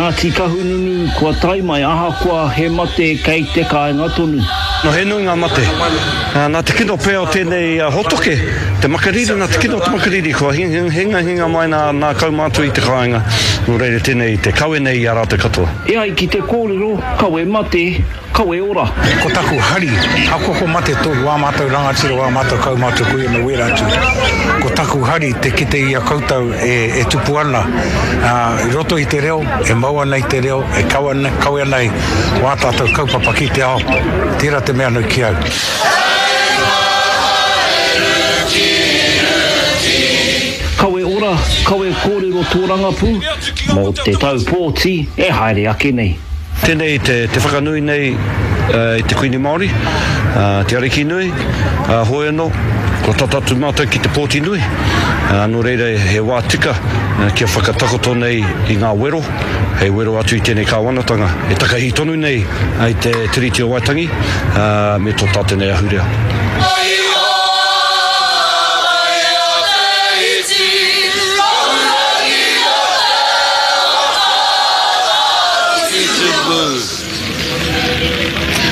Ngāti Kahungunu kua tae mai ahakoa he mate kei te kāinga tonu. No he nui ngā mate. Nā te kino pea o tēnei hōtoke, te makariri, nā te kino o te makariri kua hingahinga mai nā kaumātua i te kāinga, nō reira tēnei te kawe nei i a rātou katoa. E ai ki te kōrero, kawe mate, Kawe ora. Ko taku hari, ahakoa ko mate tō wā mātou rangatira, wā mātou kaumātua koia me wera atu, ko taku hari te kite i a koutou e tupu ana i roto i te reo, e mau ana i te reo, e kawe ana i wā tātou kaupapa ki te ao, tērā te mea nui ki au. Kawe ora, kawe kōrero tōrangapū mō te tau pōti e haere ake nei. Tēnei te whakanui nei i te Kuini Māori, te Ariki nui, hoi anō, kua tata atu mātou ki te pōti nui, nō reira he wā tika kia whakatakoto nei i ngā wero, hei wero atu i tēnei kāwanatanga e takahi tonu nei i te Tiriti o Waitangi me tō tātou nei ahurea.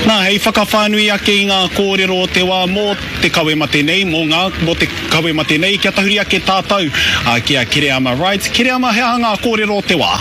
Nā, hei whakawhānui ake i ngā kōrero o te wā mō te kawe mate nei, mō ngā, mō te kawe mate nei, kia tahuri ake tātou ki a Kereama Wright. Kereama, he aha ngā kōrero o te wā?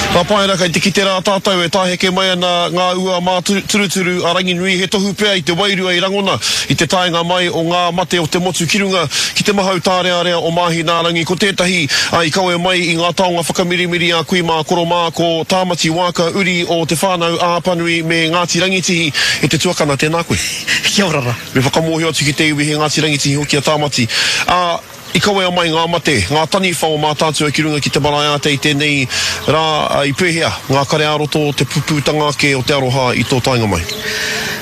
Ka pai ana, kei te kite rā tātou e tāheke mai ana ngā ua māturuturu a Ranginui, he tohu pea i te wairua i rangona i te taenga mai o ngā mate o te motu ki runga ki te mahau tārearea o Māhinaarangi. Ko tētahi i kawe mai i ngā taonga whakamirimiri a kui mā koro mā ko Tāmati Waaka uri o Te Whānau a Apanui me Ngāti Rangitihi e te tuakana tēnā koe. Kia ora rā. Me whakamōhio atu ki te iwi he Ngāti Rangitihi hoki a Tāmati. Ā. I kawea mai ngā mate, ngā taniwha o Mātaatua ki runga ki te marae ātea i tēnei rā, i pēhea ngā kare ā-roto o te pupūtanga ake o te aroha i tō taenga mai?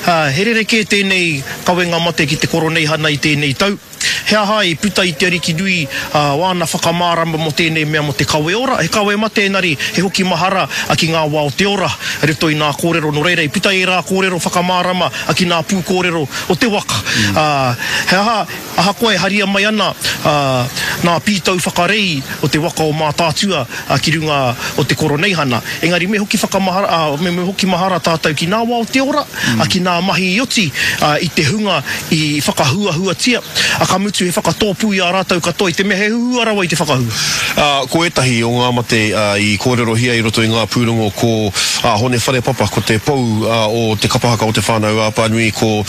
He rerekē tēnei kawenga mate ki te Koroneihana i tēnei tau. He aha i puta i te Ariki nui wāna whakamārama mō tēnei mea mō te kawe ora? He kawe mate engari he hoki mahara ki ngā wā o te ora i roto i nā kōrero nō reira i puta ērā kōrero whakamārama ki nā pūkōrero o te waka. He aha Ahakoa e haria mai ana nā pītau whakarei o te waka o Mātaatua ki runga o te Koroneihana, engari me hoki whakamahara, me hoki mahara tātou ki nā wā o te ora, ki nā mahi i oti i te hunga i whakahuahuatia, ka mutu he whakatōpū i a rātou katoa i te mea he huhua rawa i te whakahua. Ko ētahi o ngā mate i kōrerohia i roto i ngā pūrongo ko Hone Wharepapa, ko te pou o te kapa haka o Te Whānau-a-Apanui, ko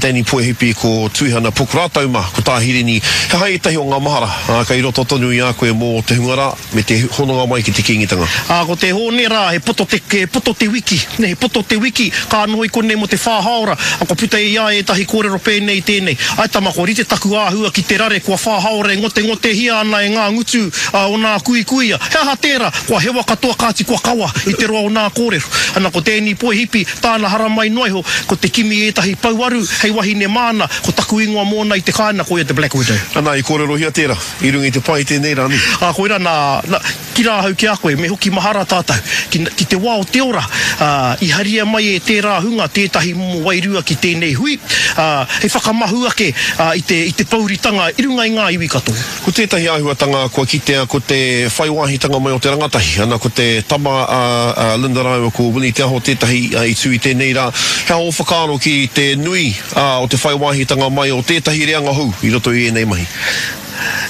Danny Poehipi, ko Tuihana Pook rātou mā, ko Tā Hirini. He aha ētahi o ngā mahara, ā, kei roto tonu i a koe mō te hunga rā, me te hononga mai ki te Kīngitanga? Ā, ko te Hōne rā, he poto te, he poto te wiki, nē, he poto te wiki, ka noho i konei mō te whā haora, ā, kua puta i a ia ētahi kōrero pēnei i tēnei, Āe tama, kua rite taku āhua ki te rare kua whā haora e ngotengote-hia ana e ngā ngutu o nā kuikuia. He aha tērā? Kua hewa katoa kāti kua kawa i te roa o nā kōrero. Ana, ko Danny Poehipi, Tāna haramai noa iho, ko te kimi i ētahi pouaru hei wahine māna, ko taku ingoa mōna i te kāinga, koia te Black Widow. Ana, i kōrerohia tērā, i runga i te pae i tēnei rā, nē? Ā, koirā nā, nā, ki rā ahau ki a koe, me hoki mahara tātou, ki, ki te wā o te ora, ā, i haria mai e tērā hunga tētahi momo wairua ki tēnei hui, ā, hei whakamahu ake, ā, i te, i te pouritanga i runga i ngā iwi katoa. Ko tētahi āhuatanga kua kitea ko te whai wāhitanga mai o te rangatahi, ana ko te tama a Linda rāua ko Winnie Te Aho tētahi i tū i tēnei rā. He aha ō whakaaro ki te nui o te whai wāhitanga mai o tētahi reanga hou i roto i ēnei mahi?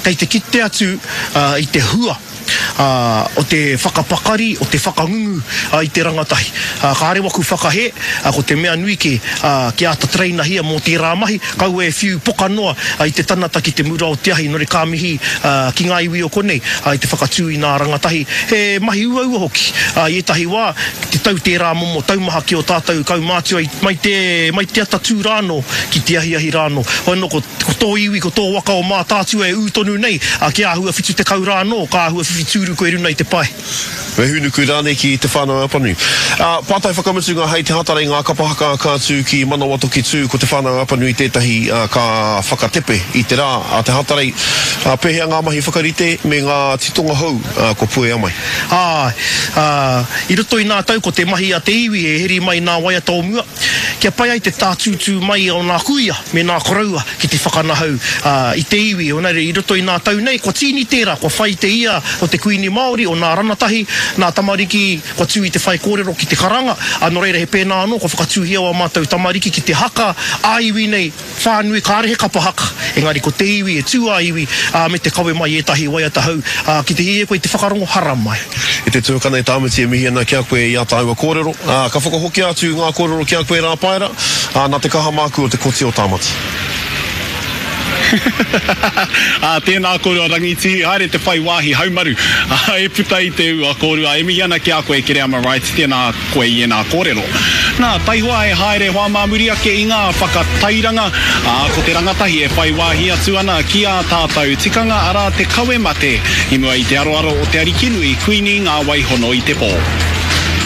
Kei te kite atu i te hua o te whakapakari, o te whakangungu i te rangatahi. Kāre waku whakahē, ko te mea nui kē, kia āta trainahia mō tērā mahi, kaua e whiu poka noa i te tanata ki te mura o te ahi, nō reira ka mihi ki ngā iwi o konei i te whakatū i nā rangatahi. He mahi uaua hoki i ētahi wā, ki te tau tērā momo taumaha ki ō tātou kaumātua mai te, mai te atatū rānō ki te ahiahi rānō. Hoi anō ko. Ko tō iwi, ko tō waka o Mātaatua e ū tonu nei, ā, kia āhua 70 rā anō, ka āhua whiwhi tūru koe runa i te pae. Me hūnuku rānei ki Te Whānau-a-Apanui. Ā, pātai whakamutunga hei te Hatarei ngā kapa haka ka tū ki Manawatoki tū ko Te Whānau-a-Apanui tētahi ka whakatepe i te rā a te Hatarei. Ā, pēhea ngā mahi whakarite me ngā titonga hou kua puea mai? Āe, ā, i roto i nā tau ko te mahi a te iwi e heri mai nā waiata o mua, kia pai ai te tātūtū mai o nā kuia me nā koroua ki te whakanahau i te iwi. Engari i roto i nā tau nei, kua tīni tērā, kua whai te ia o te Kuini Māori, o nā ranatahi, nā tamariki kua tū i te whaikōrero ki te karanga, ā, nō reira he pēnā anō kua whakatūhia wā mātou tamariki ki te haka ā-iwi nei, Whānui, kāre he kapa haka, engari ko te iwi e tū ā-iwi, ā, me te kawe mai i ētahi waiata hou, ā, ki te hiahia koe i te whakarongo, haramai. E te tuakana e Tāmati e mihi ana ki a koe i ā tāua kōrero, ā, ka whakahokia atu ngā kōrero ki a koe Rāpaera, ā, nā te kaha māku o te koti o Tāmati. Ā, tēnā kōrua Rangitihi, haere te whai wāhi haumaru, ā, e puta i te ua kōrua, e mihi ana ki a koe Kereama Wright, tēnā koe i ēnā kōrero. Nā, taihoa e haere hoa mā muri ake i ngā whakatairanga, ā, ko te rangatahi e whai wāhi atu ana ki ā tātou tikanga, arā te kawe mate i mua i te aroaro o te Arikinui Kuini Ngā Wai Hono i te Pō.